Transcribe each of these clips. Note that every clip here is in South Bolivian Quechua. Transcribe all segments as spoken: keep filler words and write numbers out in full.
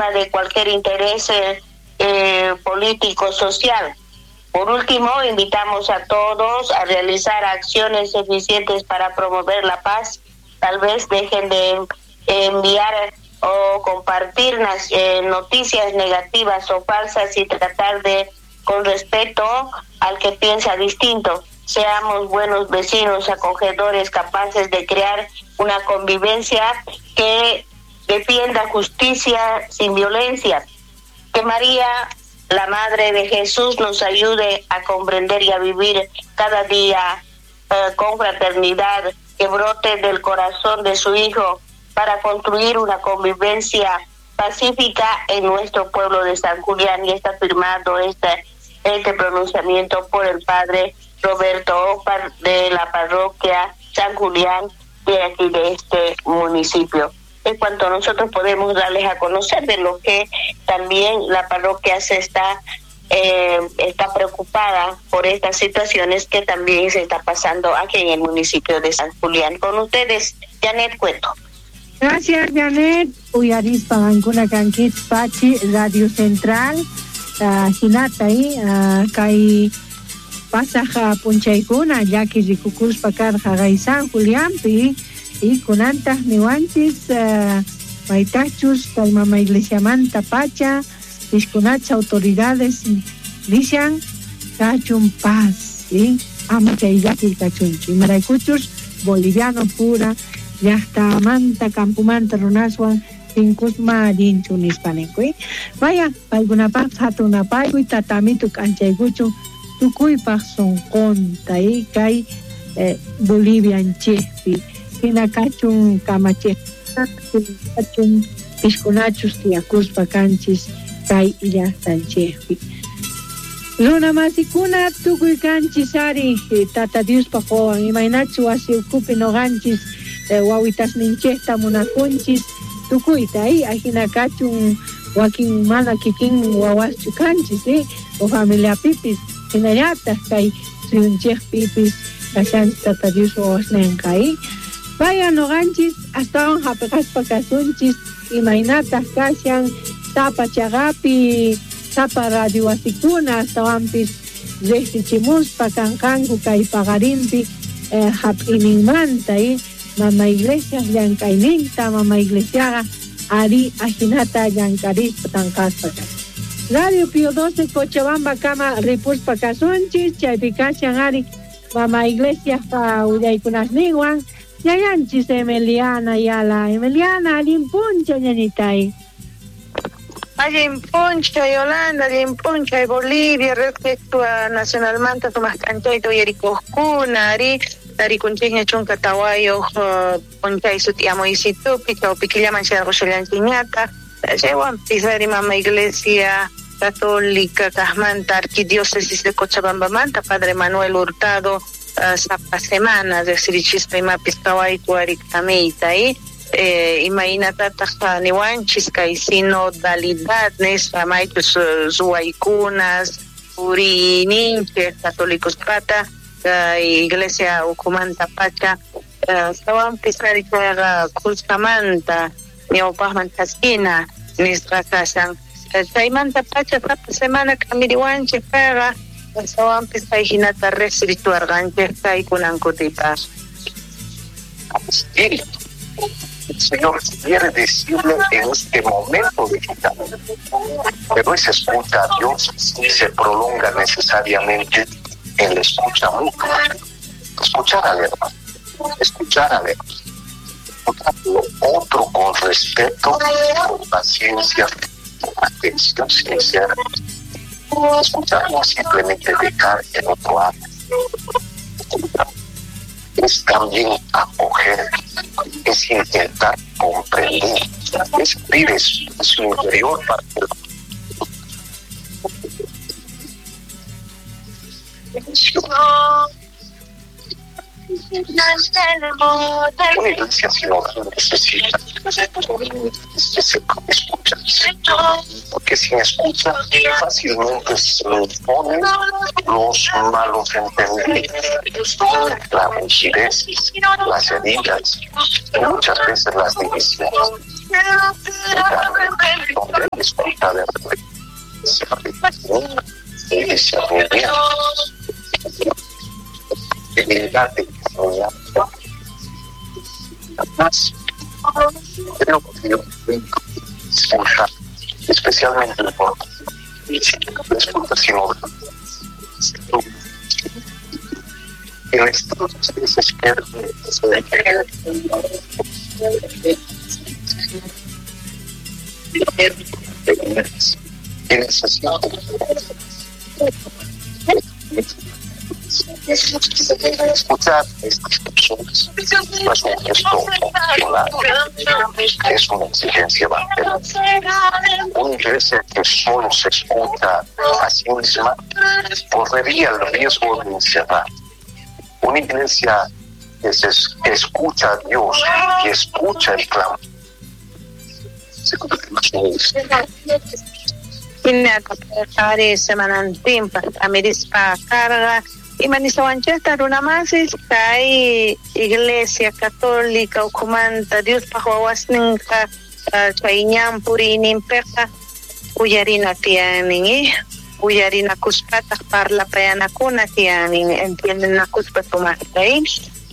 encima de cualquier interés eh, político social. Por último, invitamos a todos a realizar acciones eficientes para promover la paz. Tal vez dejen de enviar o compartir las, eh, noticias negativas o falsas y tratar de, con respeto al que piensa distinto. Seamos buenos vecinos, acogedores, capaces de crear una convivencia que defienda justicia sin violencia. Que María, la Madre de Jesús, nos ayude a comprender y a vivir cada día eh, con fraternidad, que brote del corazón de su Hijo para construir una convivencia pacífica en nuestro pueblo de San Julián. Y está firmado este, este pronunciamiento por el padre Roberto Opar de la parroquia San Julián de aquí de este municipio. En cuanto nosotros podemos darles a conocer de lo que también la parroquia se está eh, está preocupada por estas situaciones que también se está pasando aquí en el municipio de San Julián. Con ustedes, Janet Cueto. Gracias, Janet. Uyarispa qankuna kankichis Pachi Radio Central, uh, hinata uh, kay pasaj p'unchaykuna llaki rikukuspa karqa kay San Julianpi y kunantaq niwanchis uh, maytachus kay mama iglesiamanta pacha pishkunacha autoridades nishan kachun paz, ¿sí? Ama chay llaki kachunchu imaraykuchus boliviano pura llaqtamanta campumanta runaswan tinkusma allinchu nispa ninku. Vaya, paykunapaq hatun apaykuy tatamitu k'anchaykuchun tukuypaq sunqunta y kay eh, Bolivianchikpi hina kachun kamachiq kachun pishkunachus tiyakuspa kanchis kay llaqtanchikpi. Runa masikuna tukuy kanchis ari Tata Diospaq wawan imaynachu wasi ukhupi noqanchis eh, wawitasninchikta munakunchis tukuyta y ajina kachun wakin mana kikin wawaschu kanchis eh, o familiapipis hinallataq kay suyunchikpipis kashanchis Tata Dios wawasninqa eh. Vaya noqanchis astawan hapiqaspa kasunchis imaynataq kashan sapa chaqapi sapa radio wasikuna astawanpis riqsichimuspa kanqanku kay paqarinpi eh, hap'ininmanta eh. Mama Iglesia llank'ayninta mama Iglesiaqa ari ajinata llank'arispa tanqaspa Radio Pío doce Cochabamba kama ripuspa kasunchis chaypi kashan ari mama Iglesia willaykunasninwan ñañanchis Emiliana Yala. Emiliana, allin p'unchay ñañitay. Allin p'unchay Yolanda, allin p'unchay Bolivia, respecto a nacionalmanta sumaq k'anchayta uyarikuqkuna ari tarikunchikña chunka tawayuq p'unchay sut'iyamuysitupi chawpi killaman chayarqushallanchikñataq chaywanpis ari mama Iglesia Católica kaqmanta Arquidiócesis de Cochabambamanta Padre Manuel Hurtado uh, sapa semana riqsirichispa imapis qhawayku ari k'amiyta eh Eh, imaynatataq niwanchis kay sinodalidad nispa maychus ruwaykunas puriyninchik católicospata kay iglesia ukhumanta pacha astawanpis ari chayqa khuskamanta ñawpaqman chaskina nisqa kashan chaymanta pacha sapa semana k'amiriwanchik payqa astawanpis kay hinata riqsirichuwarqanchik kay kunan kutipaq. El Señor quiere decirle en este momento de vida, pero esa escucha a Dios se prolonga necesariamente en la escucha mutua. Escuchar al hermano, escuchar al hermano, escuchar lo otro con respeto, con paciencia, con atención sincera. Escuchar no simplemente dejar el otro hable. Es también acoger, es intentar comprender, es abrir su interior para que una iglesia sinodal necesita que se escucha, porque sin escucha fácilmente se imponen los malos entendidos, la rigidez, las heridas y muchas veces las divisiones. Donde hay escucha de y discernimiento, dignidad de discernimiento. Además, creo que Dios escucha, especialmente por escucha sino el estado se desespera que necesita escuchar estas personas no es un gesto opcional, es una exigencia evangélica. Una iglesia que solo se escucha a sí misma correría el riesgo de encerrar. Una iglesia que se escucha a Dios y escucha el clamor se convierte en semanantinpaq t'amirispa karqa imanisawanchikta runamasis kay Iglesia Católica ukhumanta Diospaq wawasninqa chay ñan puriyninpiqa uyarina tiyanin uyarinakuspataq parlapayanakuna tiyanin entiendenakuspa sumaqta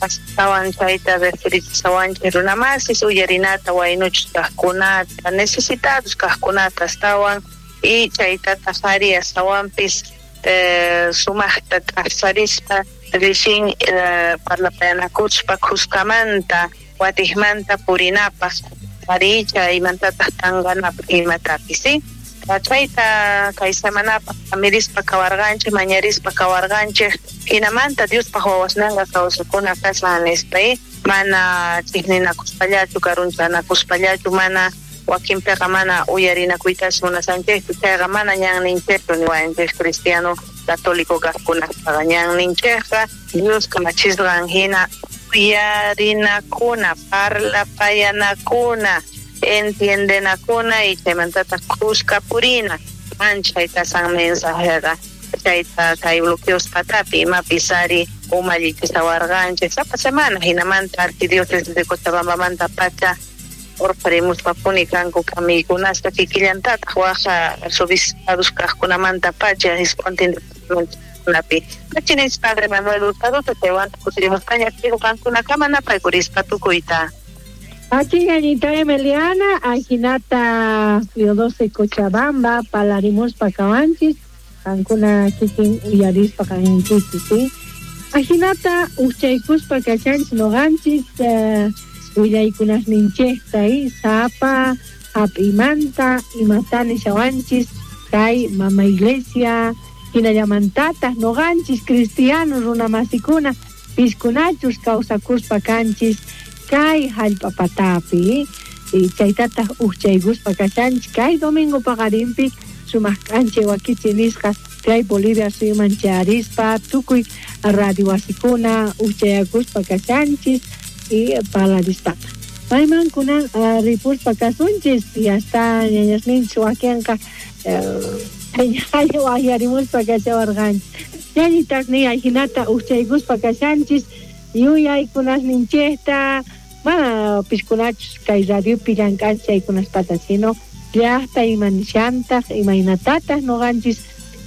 astawan chayta referichisawanchik runamasis uyarinata waynuchus kaqkunata necesitados kaqkunata astawan y chaytataq ari astawanpis eh, sumaqta t'aqsarispa rixin eh, parlapayanakuspa khuskamanta watiqmanta purinapaq ari chaymantataq tanqanapaq imatapis ¿sí? Chayta kay semanapaq amirispa kawarqanchik mañarispa kawarqanchik hinamanta Diospaq wawasninqa kawsakuna kashan nispa mana chiqninakuspallachu karunchanakuspallachu mana wakinpiqa mana uyarinakuytas munasanchikchu chayqa mana ñanninchikchu niwanchik cristiano católico kaqkunapaqqa ñanninchikqa Dios kamachisqan hina uyarinakuna parlapayanakuna entiendenakuna y chaymantataq kuska purina manchay kasan mensajeqa chayta kay bloqueos patapi imapis ari umallichisawarqanchik sapa semana hinamanta arquidiócesis de Cochabambamanta pacha urqarimuspapuni kanku kamiykunaspa kikillantataq waqa arzobispados kaqkunamanta pacha isquntin departamentokunapi Machinis padre Manuel Hurtado chaywan kutirimuspaña qankunakama napaykurispa tukuyta. Aquí Anita Emiliana, Ajinata Fiodose Cochabamba, Palarimuspa Cabanchis, Ancuna Kikin Uyarispa Canchis, ¿sí? Ajinata Uchaykuspa Cachanchis Noganchis, Willaykunas Ninchesta, Zapa, Apimanta, Imatani Shawanchis, Kai, Mama Iglesia, Hinayamantata, Noganchis, Cristianos, Runamasikuna, Piskunachus, Causakuspa Canchis, kay hallp'a patapi y chaytataq uchaykuspa kashanchik kay domingo paqarinpi sumaq k'anchay wakichi nisqa kay Bolivia suyuman chayarispa tukuy radio wasikuna uchayakuspa kashanchis y parlarispataq mayman kunan ripuspa kasunchis y hasta ñañasninchis wakinqa waqyarimuspa kashawarqanchik ñañitas ni ajinata uchaykuspa kashanchis yuyaykunasninchikta mana piskunachus kay radiopi llank'anchik chaykunaspata sino llaqta imanishantaq imaynatataq nuqanchis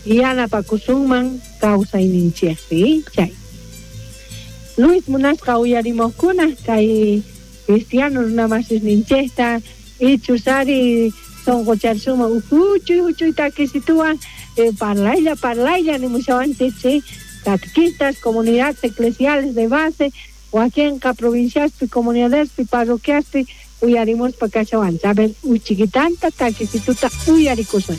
yanapakusunman kawsayninchikpi chay Luis munasqa uyarimuqkuna kay cristiano runamasisninchikta ichus ari sunqucharsuman huchuy huchuy takisituwan eh, parlaylla parlaylla nimushawanchik ¿sí? Catequistas, comunidades eclesiales de base, wakinqa provinciaspi, comunidadespi, parroquiaspi, uyarimuspa kashawanchik. A ver, uchiquitanta takisituta uyarikusun.